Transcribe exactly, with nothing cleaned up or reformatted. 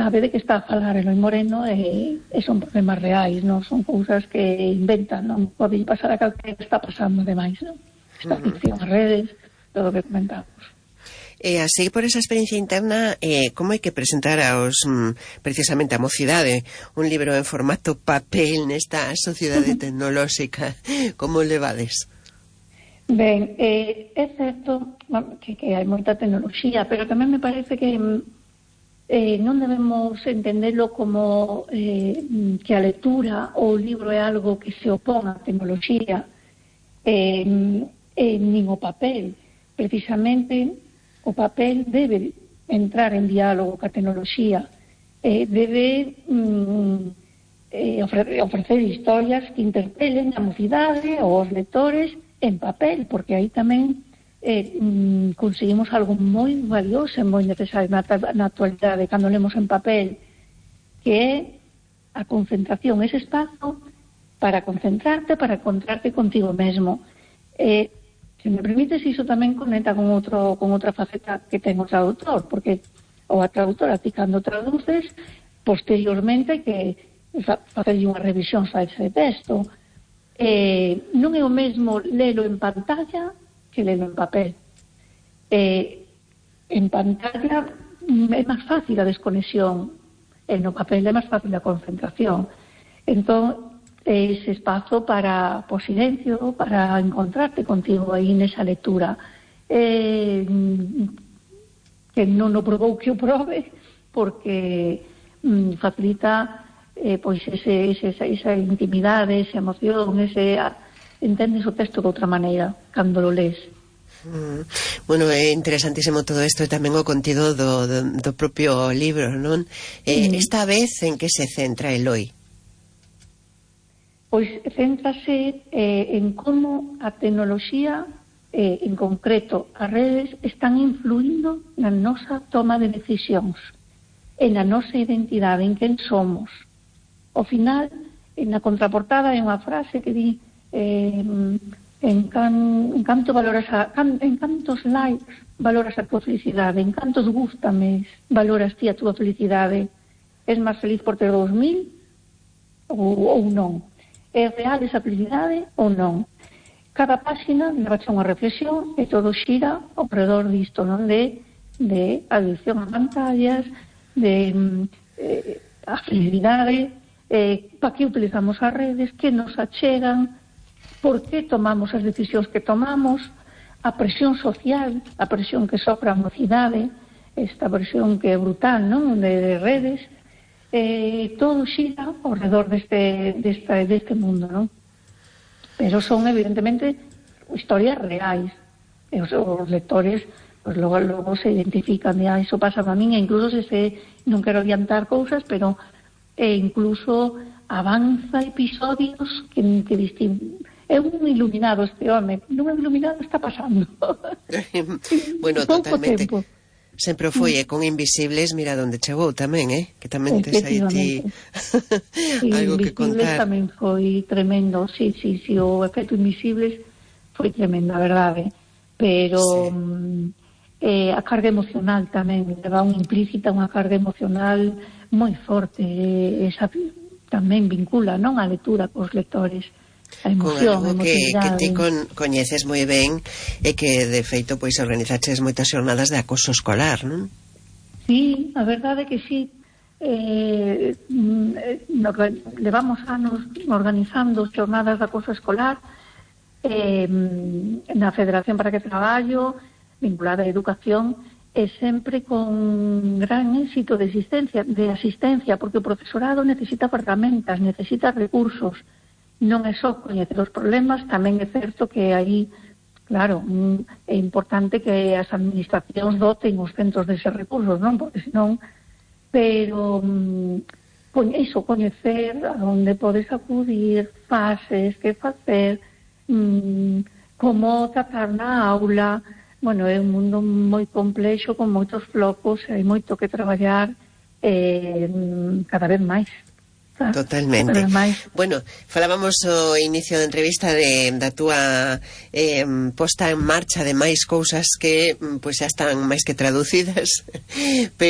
sabe de que está a falar Eloi Moreno e, e son problemas reais, non son cousas que inventan, non pode pasar a calquera que está pasando demais, non? Esta uh-huh. ficción, as redes, todo o que comentamos. E así, por esa experiencia interna, eh, como hai que presentar aos, mm, precisamente a mocidade, un libro en formato papel nesta sociedade tecnolóxica? Como levades? Ben, eh, é certo que, que hai moita tecnoloxía, pero tamén me parece que eh, non debemos entenderlo como eh, que a lectura ou o libro é algo que se opón á tecnoloxía, eh, eh, nin o papel. Precisamente, o papel debe entrar en diálogo ca tecnoloxía, eh, debe mm, eh, ofrecer, ofrecer historias que interpelen a mocidade ou os lectores en papel, porque aí tamén eh, mm, conseguimos algo moi valioso e moi necesario na, na actualidade cando lemos en papel, que é a concentración, ese espazo para concentrarte, para encontrarte contigo mesmo. Eh, Se me permites, iso tamén conecta con outro con outra faceta que ten o traductor, porque ou a traductora, ti cando traduces, posteriormente que facerlle unha revisión a ese texto. Eh, non é o mesmo lelo en pantalla que lelo en papel. Eh, en pantalla é máis fácil a desconexión, e no papel é máis fácil a concentración. Entón, ese espazo para, por silencio, para encontrarte contigo aí nesa lectura, eh, que non o probou que o probe, porque mm, facilita eh, pois ese, ese, esa, esa intimidade, esa emoción, ese, entendes o texto de outra maneira cando lo lees. Mm. Bueno, é interesantísimo todo isto e tamén o contido do, do, do propio libro, non? Eh, mm. Esta vez en que se centra Eloi? Pois céntrase eh, en como a tecnoloxía, eh, en concreto as redes, están influindo na nosa toma de decisións, en a nosa identidade, en quen somos. Ao final, na contraportada hai unha frase que di eh, en, can, en canto valoras a, can, en cantos likes valoras a tua felicidade, en cantos gústame valoras ti a tua felicidade, és máis feliz por ter dous mil ou, ou non? É real esa felicidade ou non? Cada páxina leva unha reflexión e todo xira ao redor disto, non? De, de adicción a pantallas, de eh, a felicidade, eh, para que utilizamos as redes, que nos achegan, por que tomamos as decisións que tomamos, a presión social, a presión que sofre a mocidade, esta presión que é brutal, non? De, de redes. Eh, todo xira ao redor deste, deste, deste mundo, non? Pero son evidentemente historias reais e os, os lectores pues, logo, logo se identifican de, ah, iso pasa a min, e incluso se, se non quero adiantar cousas, pero e incluso avanza episodios que, que distin... é un iluminado este home, non é iluminado, está pasando. Bueno, totalmente tempo. Sempre foi, e con Invisibles, mira onde chegou tamén, eh? Que tamén tes aí ti algo que contar. Tamén foi tremendo, sí, sí, sí, o efecto Invisibles foi tremendo, a verdade. Pero sí. eh, a carga emocional tamén, leva unha implícita unha carga emocional moi forte, eh, esa tamén vincula, non, a lectura cos lectores. A emoción, con algo que, que ti con, coñeces moi ben e que de feito pois organizaches moitas xornadas de acoso escolar, non? Sí, a verdade é que sí. Eh, no, levamos anos organizando xornadas de acoso escolar eh, na Federación para que Traballo, vinculada á educación, e sempre con gran éxito de asistencia, de asistencia, porque o profesorado necesita ferramentas, necesita recursos. Non é só coñecer os problemas, tamén é certo que aí, claro, é importante que as administracións doten os centros deses recursos, non? Porque senón, pero iso, coñecer a onde podes acudir, fases, que facer, mmm, como tratar na aula. Bueno, é un mundo moi complexo, con moitos flocos, hai moito que traballar eh, cada vez máis. Totalmente. Bueno, falábamos o inicio da entrevista de, da túa eh, posta en marcha de máis cousas que pois xa están máis que traducidas, pero